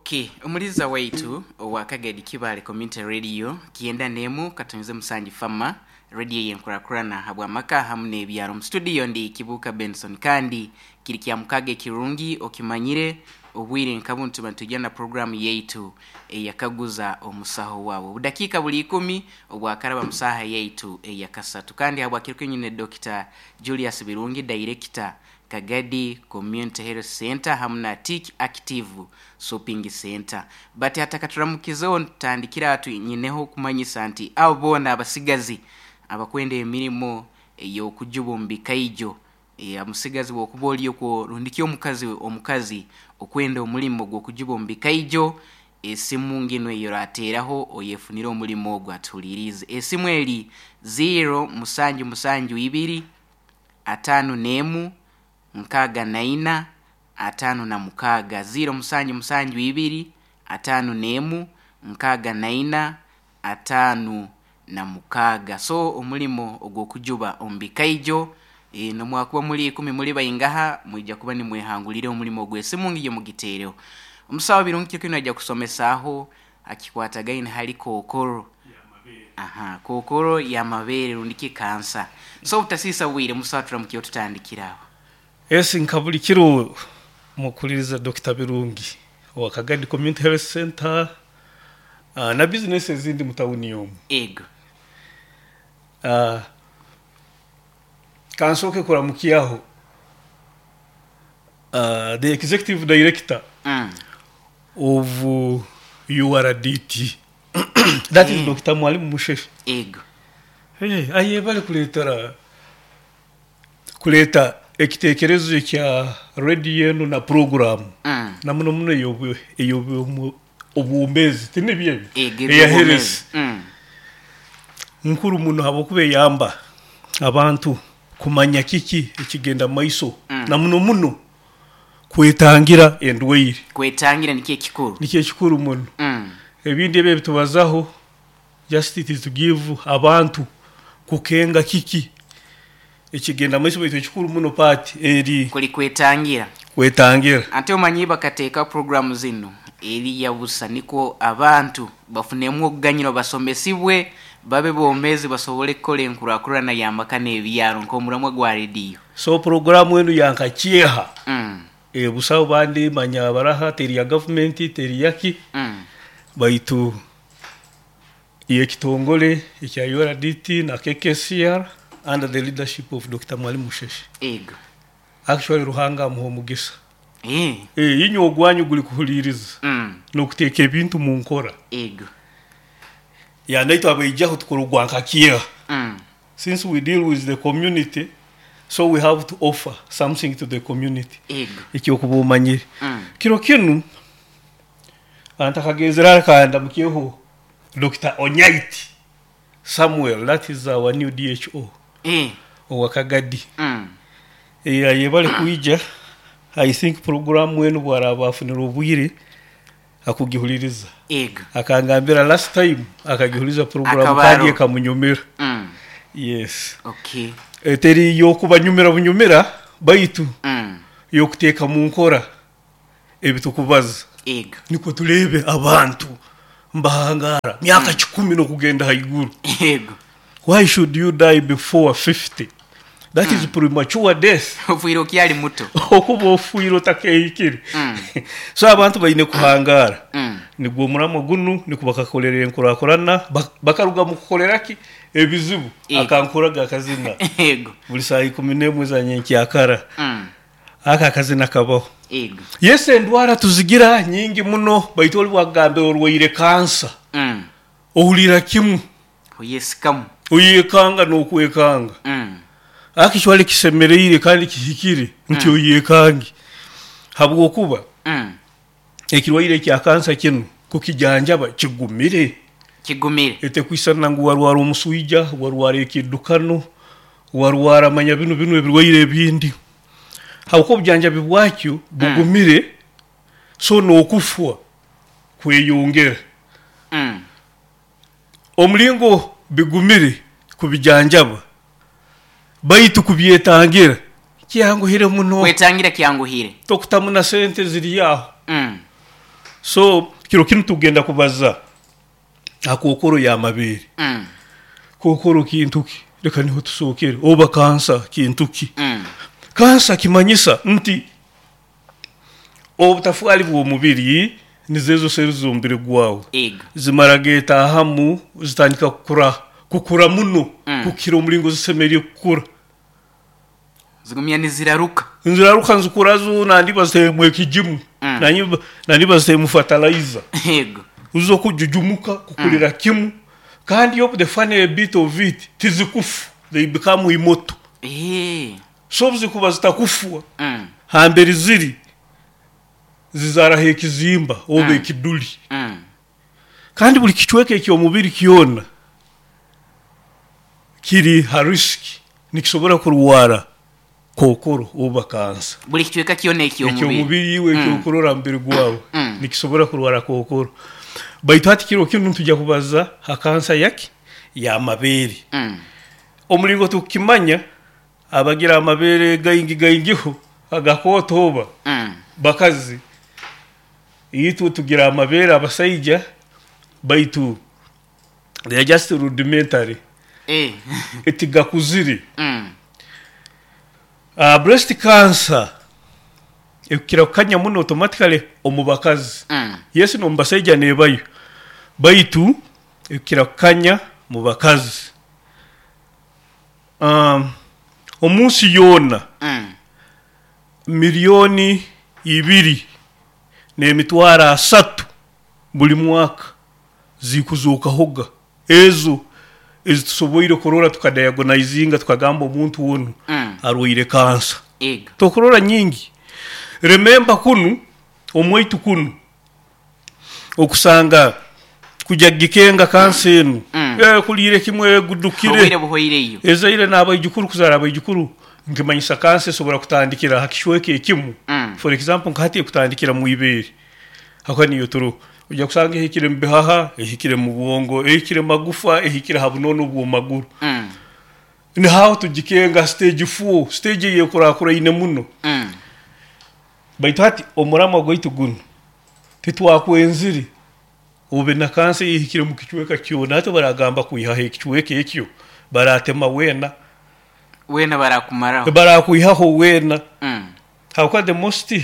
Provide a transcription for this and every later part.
Okay, omuliza waitu owa Kagadi Kibale Community Radio kyenda n'emu katonyeze musanju fama radio yenkurakurana habw'amaka hamu n'ebyaro. Mu studio ndi Kibuuka Benson kandi kiri kya mukaga ekirungi okimanyire obwire nka bunu tuba nitwija na puroguramu yaitu eyakaguza omusaho wawe. Obudakiika buli ikumi obwakaraba mu saaha yaitu eyakasatu kandi habwakiro kinu nyine Dokita Julius Birungi, Dayirekita Kagadi Community Health Centre hamu na Tick Active Shopping Centre. But hatakaturamukizeho nitutandikira aha nyineho okumanyisa nti abo boona abasigazi abakwenda emirimo ey'okujuba omu bikaijo, omusigazi bw'okuba ori okwo rundi ki omukazi omukazi okwenda omurimo gw'okujuba omu bikaijo, esimu nginu ei orateeraho oyefunire omurimo ogu atuhuliiriize. Esimu eri ziiro musanju musanju ibiri, ataano n'emu, nkaaga na ina, ataano na mukaaga. Ziiro musanju musanju ibiri, ataano n'emu, nkaaga na ina, ataano na mukaaga. So omurimo ogw'okujuba omu bikaijo, n'omwakuba muri ikumi muri baingaha, mwija kuba nimwehangurira omurimo ogwo. Esimu ngiyo mugiteereho. Omusaho Birungi kiro kinu naija kusomesaaho akikwatagaine hali kookoro. Aha, kookoro y'amabeere rundi ki kansa. So obutasiisa bwire musaho turamukireho tutandikire aho. Esi nka buli kiro mukuhuliriza Dokita Birungi owa Kagadi Community Health Centre na bizinesi ezindi mu tawuni omu. Ego. Kansooke kuramukyaho the Executive Director of URDT that is Dokita Mwalimu Musheshe. Ego. Ayebare kureetera kureeta ekitekerezo ekya rediyo enu na puroguramu na muno muno ey'obwomeezi tinibyo ebyo? Ego Eya eby'obwomeezi. health nkuru muno habwokuba eyamba abantu kumanya kiki ekigenda mumaiso na muno muno kwetangira endwaire. Kwetangira nikyo ekikuru. Nikyo ekikuru muno. Ebindi ebi ebitubazaho just it is to give abantu kukenga kiki ekigenda mumaiso baitu ekikuru muno part eri. Kuli kwetangira. Kwetangira. Ante omanyi bakateekaho puroguramu zinu eri ya busa nikwo abantu bafunemu okuganyirwa basomesibwe babe bomeezi basobole kukora enkurakurana y'amaka n'ebyaro nk'omuramwa gwa rediyo. So puroguramu enu ya nka kyeha busaho bandi manya baraha teri ya gavumenti teri yaki baitu y'ekitongore ekya URDT na KKCR under the leadership of Dokita Mwalimu Musheshe. Ego. Actually Ruhanga amuhe omugisa. Inywe ogwanyu guri kuhuliiriza n'okuteeka ebintu mu nkora. Ego. Ya naitwe abaijaho tukora ogwa nka kyeha. Since we deal with the community, so we have to offer something to the community. Ego. Eky'okuba omanyire. Kiro kinu ntakagenzere hara kandamukyeho Dokita Onyaiti Samuel, that is our new DHO owa Kagadi. Ayebare kwija, I think puroguramu enu bwaraaba afunire obwire akugihuliriza. Ego. Akangambira last time akagihuliriza puroguramu Akaba kandi aroho. ekamunyumira. Yes. Okay. Teri y'okubanyumira bunyumira baitu y'okuteeka mu nkora ebitukubaza. Ego. Nikwo tureebe abantu mbahangara myaka kikumi n'okugenda haiguru. Ego. Why should you die before 50? That is premature death. Ofiire okyali muto. Okuba ofiire otakehikire. So abantu baine kuhangara. Nigwo omuramwa gunu nikwo bakakorera enkurakurana bakaruga mu kukorera ki? Ebizibu. Ego. Akankoraga akazina. Ego. Buri saaha ikumi n'emwe za nyenkyakara. Ako akazina kabaho. Ego. Yes endwara tuzigira nyingi muno baitu ori bwakugambira orwaire kansa. Ohurira kimwe. Oyesikamu. Oyekanga n'okwekanga. Actually kisemereire kandi kihikire nti oyekange. Habwokuba ekirwaire kya kansa kinu kukijanjaba kigumire. Kigumire. Etekwisana ngu warwara omuswija, warwara ekiddukano, warwara manya binu binu ebirwaire ebindi. Habwokuba obujanjabi bwakyo bugumire, so n'okufwa kweyongera. Omulingo bigumire kubijanjaba baitu kubyetangira kyanguhire muno. Kwetangira kyanguhire. Tokutamu na sente ziri aho. So kiro kinu tugenda kubaza ha kookoro y'amabeere. Kookoro kintu ki? Leka niho tusookere. Oba kansa kintu ki? Kansa kimanyisa nti obutafaali bw'omubiri nizo ezo seeri z'omubiri gwawe zimara geetaahamu zitandika kukura kukura muno kukira omulingo zisemeriire kukura. Zigumya niziraruka. Niziraruka nizikura zo nandi baziteemu ekigimu nandi baziteemu fertilizer. Zo kujujumuka kukurira kimu kandi obu the funny bit of it tizikufa, they become immortal. So obu zikuba zitakufwa hamberi ziri zizaaraho ekizimba oba ekiduli. Kandi buli kicweka eky'omubiri kyona kiri ha risk, nikisobora kurwara kookoro oba kansa. Buli kicweka kyona eky'omubiri. Eky'omubiri iwe ekyokurora ha mubiri gwawe nikisobora kurwara kookoro. Baitu hati kiro kinu nitwija kubaza ha kansa yaki? Y'amabeere. Omulingo tukukimanya abagira amabeere gaingi gaingiho agakooto oba bakazi, itwe tugira amabeere abasaija baitu they are just rudimentary, tigakuzire. Breast cancer ekukira kukanya muno automatically omu bakazi. Yes, n'omu basaija neebayo baitu ekukira kukanya mu bakazi. Omu nsi yoona 2,300,000 buli mwaka zikuzookahoga ezo ezitusoboire kurora tukadiagonizinga tukagamba omuntu onu arwaire kansa. Tokurora nyingi. Remember kunu omwaitu kunu okusanga kujya kugikenga kansa enu kuliire kimwe egudukire. Obwire buhoireyo. Ezaire n'abaijukuru kuzaara abaijukuru nikimanyisa kansa esobora kutandikira ha kicweka ekimu. For example nka hati ekutandikira mu ibeere hakuba niyo turoho. Ojja kusanga ehikire mu bihaha, ehikire mu bwongo, ehikire mu magufa, ehikire ha bunono obw'omu maguru. Niho aho tugikenga stage 4, stage ey'ekurakuraine muno. Baitu hati omuramwa gwaitu gunu titwakwenzire obe na kansa ey'ehikire mu kicweka kyona. Hati baragamba kwihaho ekicweka ekyo, baratema weena. Weena barakumaraho. Barakwihaho weena. Habwokuba the most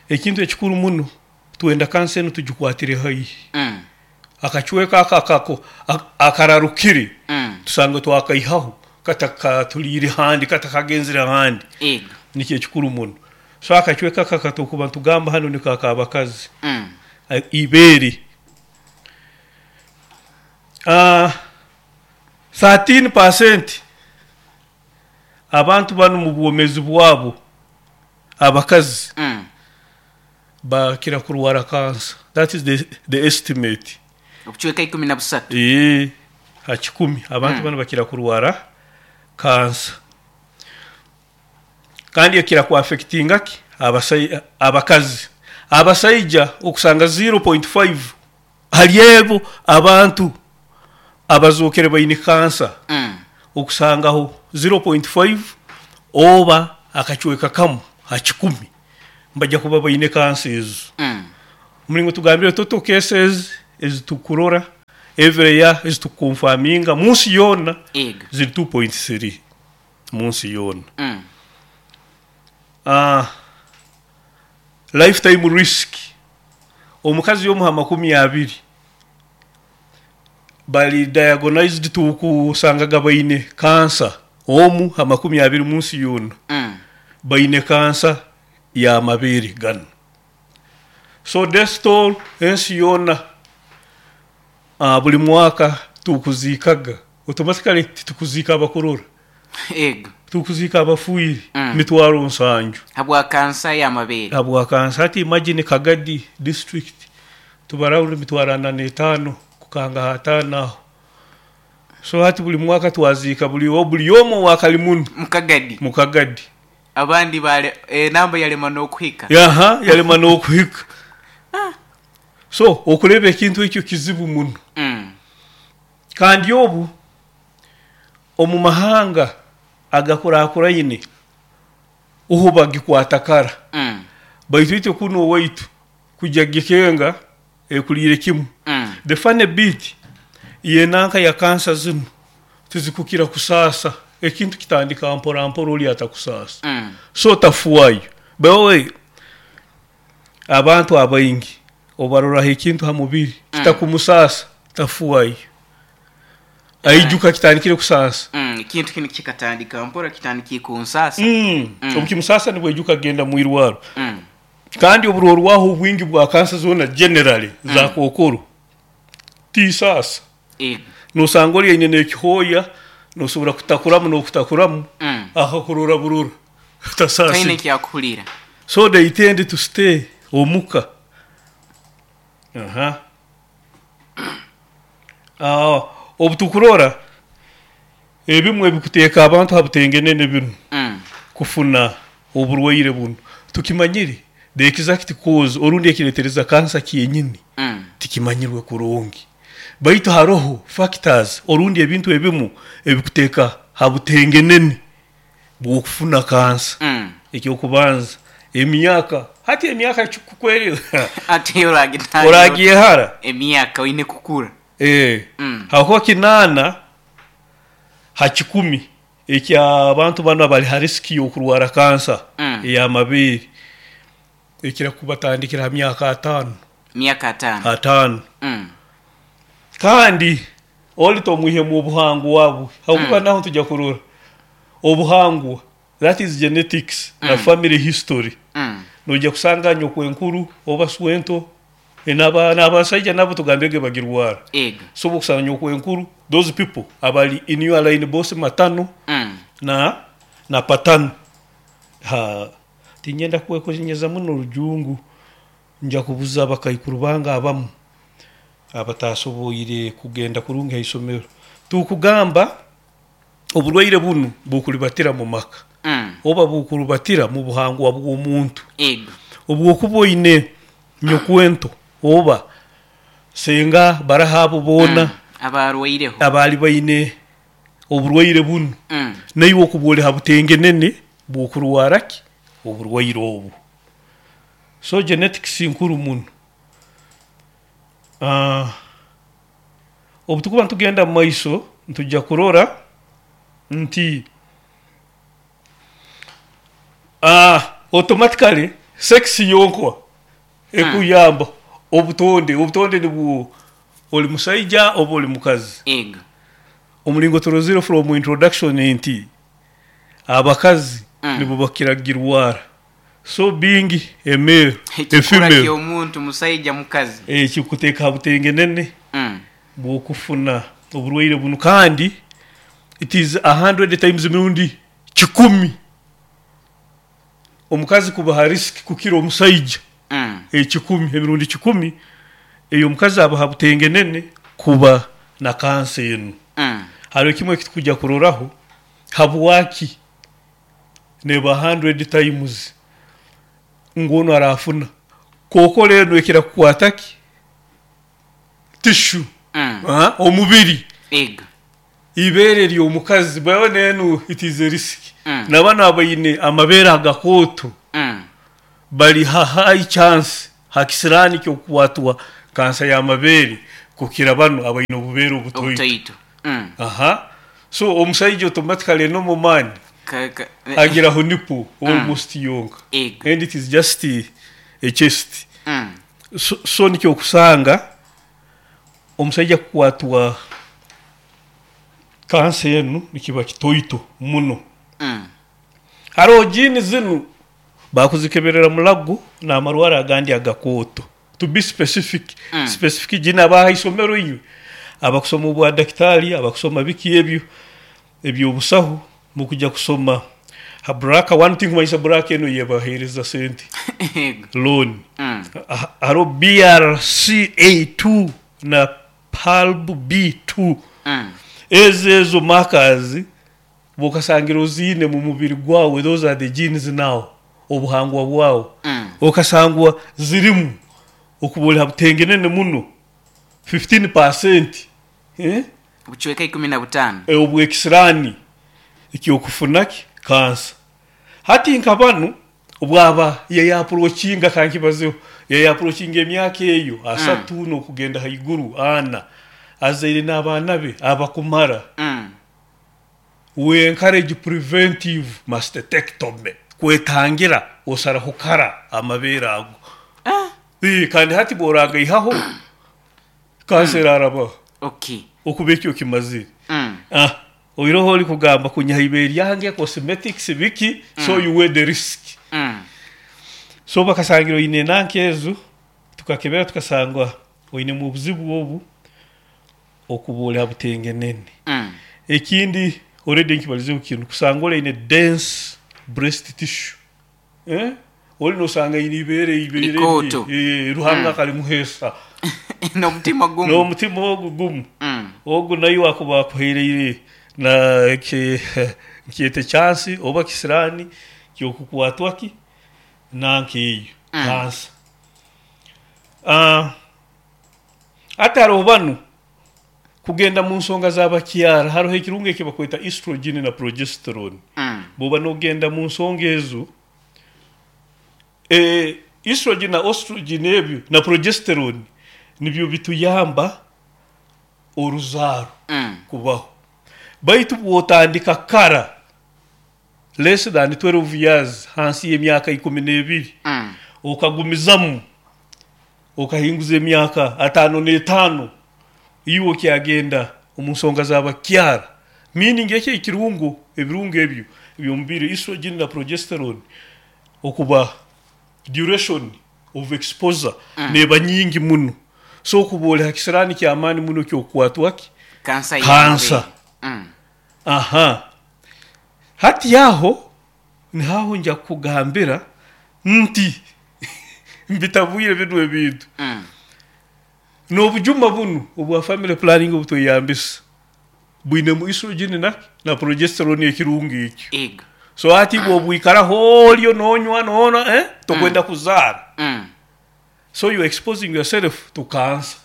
ekintu ekikuru muno twenda kansa enu tugikwatire haihi. Akacweka ako akararukire tusange twakaihaho katakatuliire handi, katakagenzire handi. Nikyo ekikuru muno. So akacweka ako akatukuba nitugamba hanu niko ak'abakazi. Ibeere. 13% abantu banu mu bwomeezi bwabo abakazi bakira kurwara kansa. That is the estimate. Obucweka 13. Ha kikumi abantu banu bakira kurwara kansa. Kandi ekira kuaffectinga ki? Abakazi. Abasaija okusanga 0.5 hali ebo abantu abazookere baine kansa okusangaho 0.5 oba akacweka kamu ha kikumi nibajja kuba baine kansa ezo. Omulingo tugambire total cases ezitukurora every year ezitukukonfaminga munsi yoona ziri 2.3 munsi yoona. Lifetime risk omukazi omu ha 20 bali diagnosed tukusangaga baine kansa, omu ha 20 munsi yoona baine kansa y'amabeere ganu. So death toll ensi yoona buli mwaka tukuziikaga automatically titukuziika abakurora. Tukuziika abafiire 70,000. Habwa kansa y'amabeere. Habwa kansa. Hati imagine Kagadi district tubara rundi 45,000 kukanga ha 5 aho. So hati buli mwaka twaziika buli omu owakali muno. Mukagadi. Mukagadi. Abandi bale enamba yalema n'okuhika. Aha, yalema n'okuhika. So okureba ekintu ekyo kizibu muno. Kandi obu omu mahanga agakurakuraine oho bagikwata kara. Baitu itwe kunu owaitu Kujya kugikenga ekuliire kimu. The funny bit, y'enanka ya kansa zinu tizikukira kusaasa, ekintu kitandika mpora mpora oli atakusaasa. So tafuayo. By the way, abantu abaingi obaroraho ekintu ha mubiri kitakumusaasa, tafuayo. Aijuka kitandikire kusaasa. Ekintu kinu kikatandika mpora, kitandikire kunsaasa. Obu kimusaasa nibwo aijuka kugenda mu irwaro. Kandi oburorwaho obwingi bwa kansa zoona generally za kookoro tisaasa. Nosanga oli aine n'ekihooya, nosobora kutakuramu n'okutakuramu, akakurora burora, Taine tasaasirwe. ekyakuhurira. So they tend to stay omuka. Aha. Obu tukurora ebimu ebikuteeka abantu ha butengenene binu kufuna oburwaire bunu, tukimanyire the exact cause orundi ekiretereza kansa kyenyini tikimanyirwe kurungi. Baitu haroho factors orundi ebintu ebimu ebikuteeka ha butengenene bw'okufuna kansa. Ekyokubanza, emyaka. Hati emyaka kikukweri Ate oragitangira oragyehara. Emyaka oine kukura. Hakuba 8 ha 100 eky'abantu banu abali ha risk y'okurwara kansa ey'amabeere ekira kubatandikira ha myaka 50. Myaka 50. 50. Kandi oli tomwihemu obuhangwa bwe, habwokuba naho tujya kurora obuhangwa, that is genetics na family history. Noija kusanga nyokwenkuru oba swento n'abasaija nabo tugambege bagirwara. So okusanga nyokwenkuru, those people abali in your line both matano na patano. Ha, tinyenda kwekonyeza muno orujungu, nja kubuza abakaikuru bange abamu abatasoboire kugenda kurungi ha isomero. Tukugamba oburwaire bunu bukulibatira mu maka oba bukurubatira mu buhangwa bw'omuntu. Obwokuba oine nyokwento oba senga baraha abo boona Abarwaireho. Abaali baine oburwaire bunu, naiwe okuba oli ha butengenene bw'okurwara ki oburwaire obu. So genetics nkuru muno. Obu tukuba nitugenda mu maiso nitujja kurora nti automatically sex yonkwa ekuyamba obutonde nibwo oli musaija oba oli mukazi. Omulingo turozire from introduction nti abakazi nibo bakira kugirwara. So being a male, a Ekikura female, ky'omuntu musaija mukazi. Kikuteeka ha butengenene bw'okufuna oburwaire bunu, kandi it is 100 times, emirundi 100, omukazi kuba ha risk kukira omusaija. 100, emirundi 100 eyo omukazi aba ha butengenene kuba na kansa enu. Hariho kimwe ekitukujja kuroraho habwaki neba 100 times ngu onu arafuna kookoro enu ekira kukwata ki tissue, omubiri, ibeere ly'omukazi bwabona enu it is a risk. Nabano abaine amabeere agakooto bali ha high chance, ha kisiraani ky'okukwatwa kansa y'amabeere kukira bano abaine obubeere obutoito. Obutoito. Aha, so omusaija automatically normal man agiraho nipple almost yonka and it is just a chest. So nikyo okusanga omusaija kukwatwa kansa enu nikiba kitoito muno. Haroho gene zinu bakuzikeberera mulago n'amarwara agandi agakooto. To be specific, specific gene, abaha isomero inywe abakusoma obwa dakitari, abakusoma biki ebyo ebyobusaho, mukujya kusoma ha BRCA one thing, kumanyisa BRCA eno yebahereza sente loan. Hariho BRCA2 na PALB2. Ezo markers bwokasangira oziine mu mubiri gwawe, those are the genes now, obuhangwa bwawe, okasangwa zirimu, okuba oli ha butengenene muno 15%, eh? Obucweka 15. Obwekisiraani ekyokufuna ki kansa. Hati nka banu obwaba yeyapproachinga kankibazeho. Yayaapproachinga emyaka eyo 30 n'okugenda haiguru 40, azaire n'abaana be abakumara. We encourage preventive mastectomy, kwetangira osaraho kara amabeere ago. Kandi hati bw'oragaihaho kansa erarabaho. Okuba ekyo okimazire. Oiroho ori kugamba kunyiha ibeere ryange, cosmetics biki, so you weigh the risk. So bakasangira oine enanka ezo, tukakebera tukasanga oinemu obuzibu obu okuba ori ha butengenene. Ekindi already nkibalizeho kinu, kusanga ori aine dense breast tissue. Ori nosanga aine ibeere ibeere Likooto. Ruhanga akalimuheesa. N'omutima gumu. N'omutima ogu gumu. Ogu naiwe akuba akuhaireire na nkyete chance oba kisiraani ky'okukwatwa ki nanka eyo kansa. Hati haroho banu kugenda mu nsonga z'abakyara, haroho ekirungo eki bakweta estrogen na progesterone. Bw'oba n'ogenda mu nsonga ezo, estrogen na ostrogen ebyo na progesterone nibyo bituyamba oruzaaro kubaho. Baitu bw'otandika kara, less than 12 years, hansi y'emyaka 12, okagumizamu okahinguza emyaka 55, iwe okyagenda omu nsonga z'abakyara, meaning eki ekirungo, ebirungo ebyo eby'omubiri, estrogen na progesterone, okuba duration of exposure neeba nyingi muno. So okuba ori ha kisiraani ky'amaani muno ky'okukwatwa ki? Kansa Kansa. y'amabeere. Aha. Hati aho niho aho nja kukugambira nti mbitabwire binu ebintu. N'obujuma bunu obwa family planning obu tweyambisa bwinemu estrogen na na progesterone ekirungo ekyo. Ego. So hati iwe obwikaraho oryo nonywa nonywa tokwenda kuzaara. So you exposing yourself to cancer.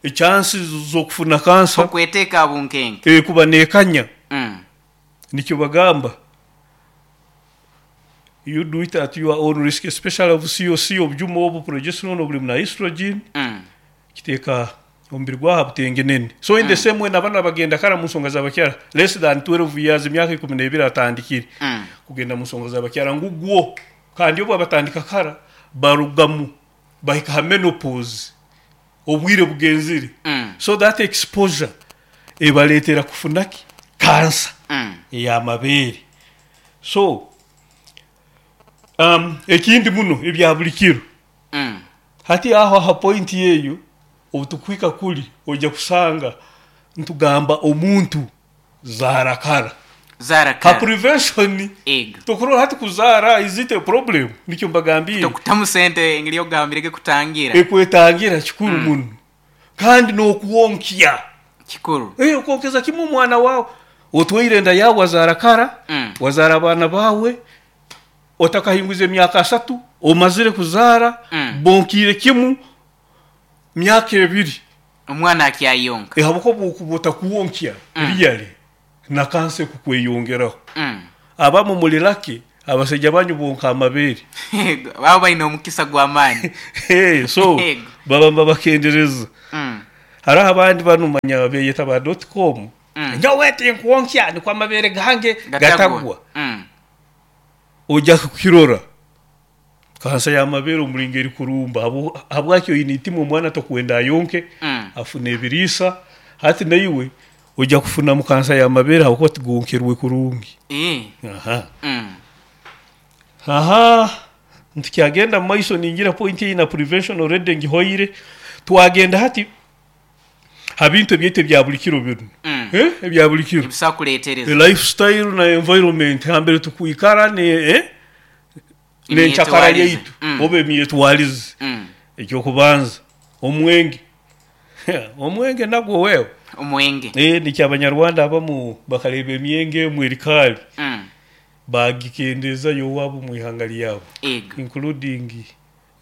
Echansi z'okufuna cancer. Okweteeka aha bunkenke. Ekuba nekanya. Nikyo bagamba you do it at your own risk especially obu COC obujuma obu progesterone oburimu na estrogen kiteeka omubiri gwawe aha butengenene. So in the same way nabanu abagenda kara omu nsonga z'abakyara less than 12 years emyaka 12 atandikire kugenda omu nsonga z'abakyara ngu gwo kandi obu abatandika kara barugamu bahika ha menopause obwire bugenzire so that exposure ebareetera kufuna ki? Kansa ey'amabeere. So ekindi muno ebya buri kiro, hati aho aha point eyo obu tukuhika kuri oija kusanga nitugamba omuntu zaara kara. Zaara Ha kara. prevention Ego. tokurora hati kuzaara is it a problem? Nikyo mbagambiire. Tokutamu sente engeri ogambire ekutangira. Ekwetangira kikuru muno. Kandi n'okwonkya. Kikuru. Okwonkeza kimwe omwana waawe. Otwaire enda yaawe wazaara kara, wazaara abaana baawe, otakahingwize emyaka 30, omazire kuzaara, bonkiire kimu myaka 2. Omwana akyayonka. Ahabw'okuba obu okuba otakwonkya really na kansa ekukweyongeraho. Abamu muri lucky abasaija banyu bonka amabeere. Baba baine omukisa gw'amaani. So baba nibabakendereza. Hariho abandi banu manya beyeta ba dot com, nyowe tinkwonkya nikwo amabeere gange gatagwa. Oija kukirora kansa y'amabeere omuringo erikurumba habwaki oine itima omwana tokwenda ayonke afune ebiriisa hati naiwe oija kufunamu kansa y'amabeere ahabw'okuba tigonkerwe kurungi. Aha nitukyagenda omu maiso ningira point eyi na prevention already ngihoire twagenda hati ha bintu ebyaitu ebya buri kiro binu ebya buri kiro Ebisobola kureetereza. Lifestyle na environment hambere tukwikara n'enkyakara Emyetwarize. yaitu oba emyetwarize. Eky'okubanza omwenge omwenge nagwo wewe Omwenge. Nikyo Abanyarwanda abamu bakareeba emyenge emwe eri kaari bagikendeezayo owaabo omu ihanga ryabo Ego. including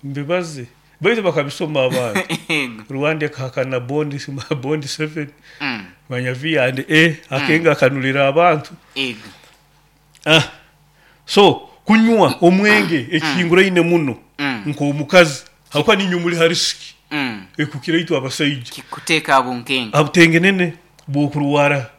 mbibaze baitu bakabisoma abantu. Ego. Rwanda ekahakana bond bond 7 manya V and A akenge akanurira abantu. Ego. So kunywa omwenge ekihinguraine muno nk'omukazi. Habwokuba niinywe muli ha risiki ekukira itwe abasaija. Kikuteeka ha bunkenke. Ha butengenene bw'okurwara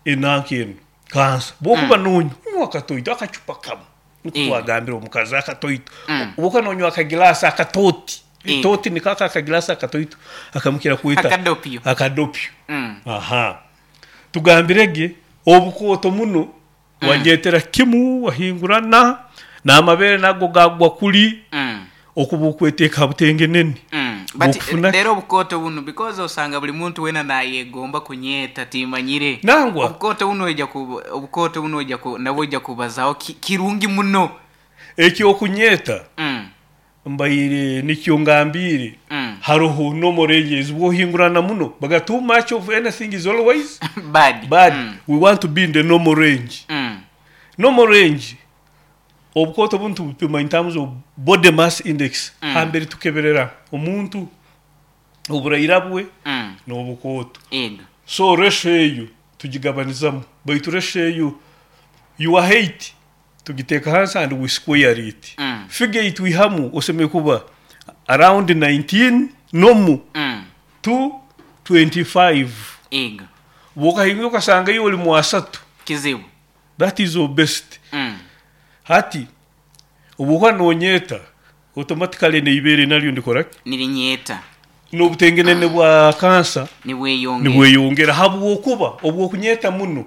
enanka enu, kansa. Bw'okuba nonywa, nywa akatoito, akacupa kamu. Nikwo twagambira omukazi, akatoito. Obwokuba nonywa akagilaasi akatooti, etooti niko ako akagilaasi akatoito akamukira kweta Akadopyo. Akadopyo. Aha. Tugambire ge, obukooto muno Wanyetera kimu wahingurana, n'amabeere nago gaagwa kuli, okuba okweteeka ha butengeneni But bw'okufuna ki? rero obukooto bunu because osanga buli muntu wena nayegomba kunyeeta timanyire. Nangwa. Obukooto bunu oija ku obukooto bunu oija ku nabwo oija kubazaho ki kirungi muno. Eky'okunyeeta Mbaire nikyo ngambiire, haroho normal ranges bwohingurana muno baga too much of anything is always Bad. bad we want to be in the normal range. Normal range obukooto bunu tubupima in terms of body mass index hambere tukeberera omuntu oburaira bwe n'obukooto. Ego. So ratio eyo tugigabanizamu baitu ratio eyo your height Tugiteeka hansi and we square it. Figure ei twihamu osemeriire kuba around 19 nomu to 25. Ego. Bwokahingura okasanga iwe oli mu asatu. Kizibu. That is obesity. Hati obwokuba nonyeeta automatically neibeere naryo ndikora ki? Nirinyeeta. Nobutengenene bwa kansa Nibweyongera. nibweyongera habwokuba obwokunyeeta muno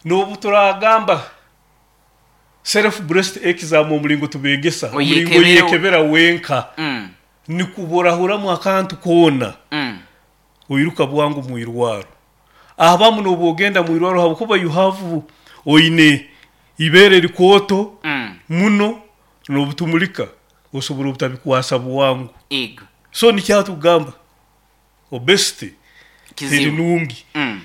nobuturagamba Self breast exam omulingo tubegesa, omulingo Oyekebere oyekebera wenka nikuborahuramu akantu koona oiruka bwangu mwirwaro. Abamu nobu ogenda mwirwaro habwokuba you have oine ibeere rikooto muno nobutumulika osobora obutabikwasa bwangu. Ego. So nikyo tugamba Obesity teri Kizibu. nungi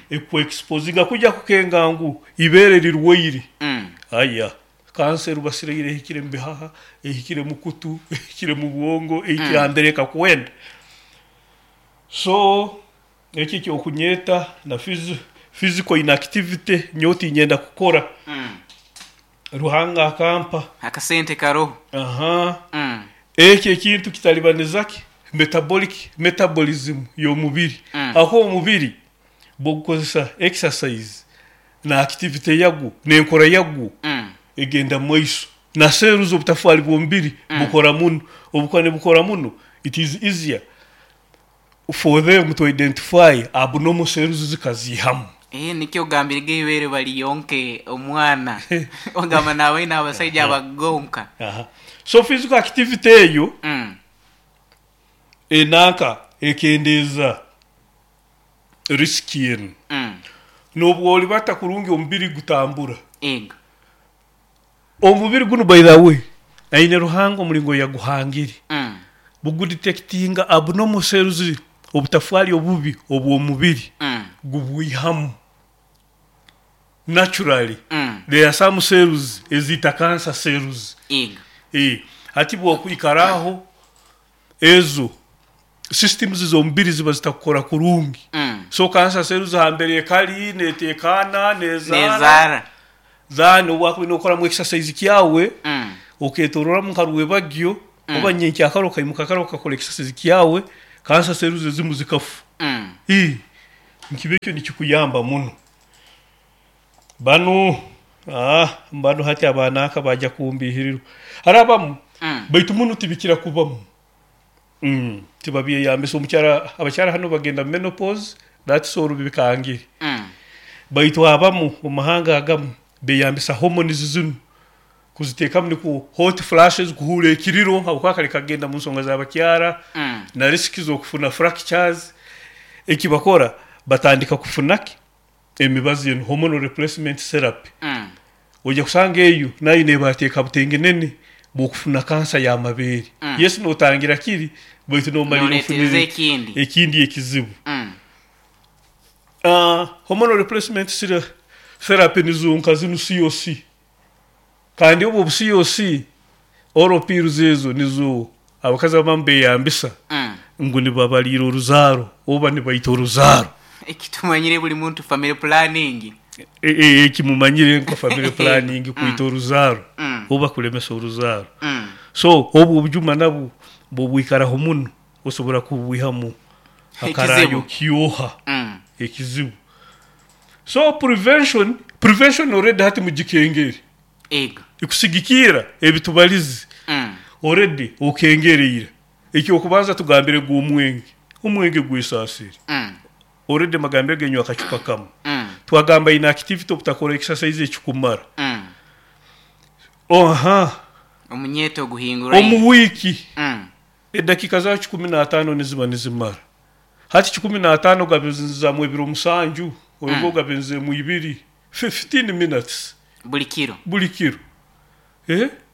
eku exposinga kuja kukenga ngu ibeere rirwaire. Aya kansa erubasireire ehikire mu bihaha, ehikire mu kutu, ehikire mu bwongo, ehikire hambere ekakwenda. So eki ekyokunyeeta na physical inactivity nyowe tinyenda kukora. Ruhanga akampa. Akasente karoho. Aha. Eki ekintu kitalibaniza ki? Metabolic, metabolism y'omubiri. Ahakuba omubiri bwogukozesa exercise na activity yagwo n'enkora yagwo egenda mumaiso. Na cells obutafwari bw'omubiri bukora muno. Obukuba nibukora muno, it is easier for them to identify abnormal cells zikaziihamu. Eeh nikyo ogambire geibeere bariyonke omwana ogamba nabaine abasaija abagonka. Aha. So physical activity eyo enanka ekendeeza risk enu. Nobwo oribata kurungi omubiri gutambura. Ego. Omubiri gunu by the way aine Ruhanga omuringo yaguhangire bugudetectinga abnormal cells obutafwari obubi obwomubiri gubwihamu naturally there are some cells eziita cancer cells hati bwokwikara aho ezo systems z'omubiri ziba zitakukora kurungi so cancer cells hambere ekari netekana nezaara Nezaara. Then obu wakubaire nokoramu exercise kyawe oketororamu nka rwebagyo oba nyenkyakara okaimuka kare okakora exercise kyawe cancer cells ezimu zikafa. Nikiba ekyo nikikuyamba muno. Banu banu hati abananka baija kumbihirirwa. Hariho abamu baitu muno tibikira kubamu. Tibabyeyambisa omukyara abakyara hanu bagenda mu menopause that's all bikangire. Baitu abamu omu mahanga agamu beyambisa hormones zinu kuzitekamu nikwo hot flashes kuhuura ekiriro habwokuba kare kagenda mu nsonga z'abakyara na risk z'okufuna fractures. Ekibakora batandika kufuna ki? Emibazi enu hormonal replacement therapy. Oija kusanga eyo nayo nebateeka butengenene bw'okufuna kansa y'amabeere. Yes notangira kiri baitu nomalirra Noretereza ofunire ekindi. ekindi ekizibu. Hormonal replacement therapy nizo nka zinu COC. Kandi obu obu COC oral pills ezo nizo abakazi abamu beyambisa ngu nibabaliira oruzaaro oba nibaita oruzaaro. Eki tumanyire buli muntu family planning. Eki mumanyire nka family planning kwita oruzaaro oba kulemesa oruzaaro. So obu obujuma nabwo. Bwobwikaraho muno osobora kubwihamu akarayo Ekizibu. kyoha ekizibu. So prevention already hati mugikengere. Ego. Ikusigikirra ebitubalize already okengere ira. Ekyokubanza tugambire gu omwenge. Omwenge gwesaasire. Already magambire genywa akacupa kamu. Twagamba inactivity, obutakora exercise ekikumara. Oha. Omunyeto oguhinguraine. Omu wiiki edakiika za 15 niziba nizimara. Hati 15 gabizamu ebiro 7, oba ogabizemu 2, 15 minutes. Buli kiro. Buli kiro.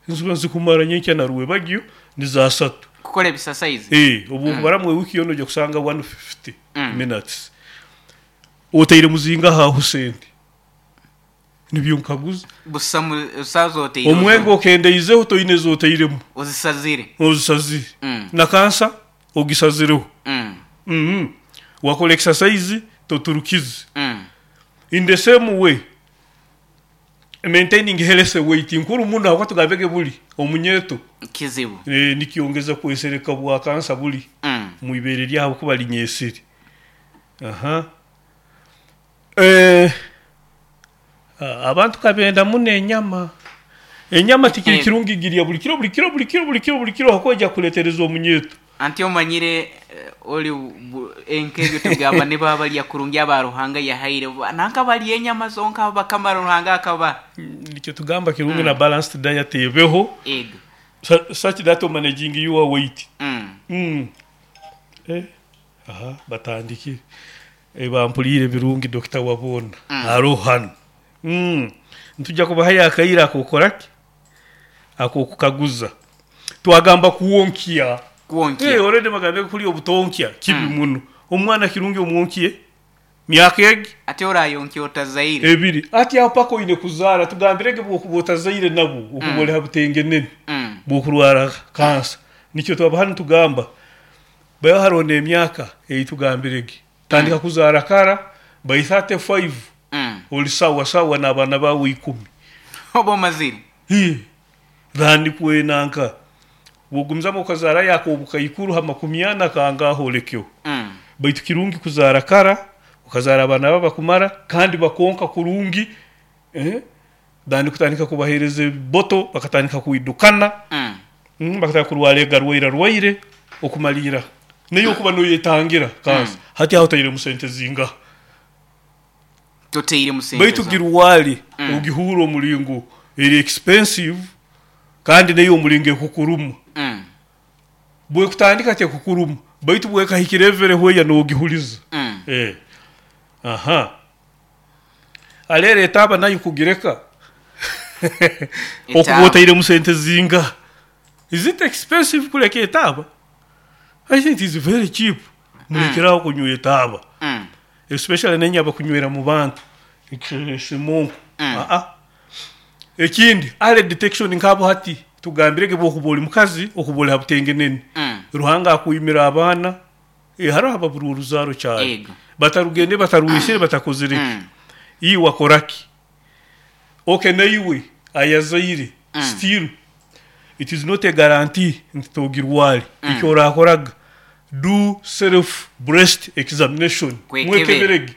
Niziba nizikumara nyenkya na rwebagyo ni za 3. Kukora ebisasaizi. Obu okubaramu ewiki yoona ojja kusanga 150 minutes. Otaire muzingaho aho sente? Nibyo nkaguza. Busa busaza otaire. Omwenge okendeizeho, toine ezotairemu. Ozisazire. Ozisazire. Na kansa ogisazireho. Wakora exercise toturukize. In the same way, maintaining healthy weight nkuru muno habwokuba tugambege buli omunyeto. Kizibu. Nikyongeza kwesereka bwa kansa buli mwibere lyabo kuba linyesire. Aha. Abantu kabenda muno enyama. Enyama tikiri kirungi girya buli kiro buli kiro buli kiro buli kiro buli kiro, hakuba ojja kuletereza omunyeto. Anti omanyire oli enkebyo tugamba nibo abalya kurungi aba Ruhanga yahaire nanka balya enyama zonka bakamara Ruhanga akaba. Nikyo tugamba kirungi na balanced diet ebeho. Ego. Such that managing your weight. Aha, batandikire. Bampulire birungi Dr. Wabona. Haro hano. Ntujja kubahayo akaire akokoraki? Akokukaguza. Twagamba kuwonkya. Kuwonkya. Already magambe kuli obutonkya kibi muno. Omwana kirungi omwonkiye myaka egi. Ate orayonkya otazaire. Ebiri. Ati aho paka oine kuzaara, tugambirege bwokuba otazaire nabo okuba oli ha butengenene bwokurwara kansa. Nikyo twaba hanu tugamba bayo hariho n'emyaka ei tugambirege. Tandika kuzaara kara by 35 oli sawa sawa n'abaana bawe 10. Oba omazire. Than kwenanka bwogumizamu okazaara yakobukaikuru ha 40 kangaho olekeho. Baitu kirungi kuzaara kara, okazaara abaana baba bakumara kandi bakonka kurungi, than kutandika kubahereza ebiboto bakatandika kwidukana, bakatandika kurwara egarwaire rwaire okumalira. Nayo okuba noyetangira kansa. Hati aho otairemu sente zingaha? Toteiremu sente. Baitu girwale ogihura omulingo eri expensive kandi nayo omulingo ekukuruma. Bwekutandika tekukuruma, baitu bwekahikira evere hweya nogihuliza. Aha. Alere etaaba nayo kugireka. Okuba otairemu sente zingaha? Is it expensive kuleka etaaba? I think it is very cheap. Mulekeraho kunywa etaaba. Especially nenye abakunywera mu bantu. Simonko. Ekindi, early detection nkabo hati tugambirege bwokuba oli mukazi okuba oli ha butengenene. Ruhanga akwimira abaana, hariho ababura oruzaaro kyari. Batarugende batarwisire batakozire ki. Iwe wakoraki? Okay, naiwe ayazaire still it is not a guarantee nti togirware. Eki orakoraga, do self breast examination. Kwekebera. Mwekeberege.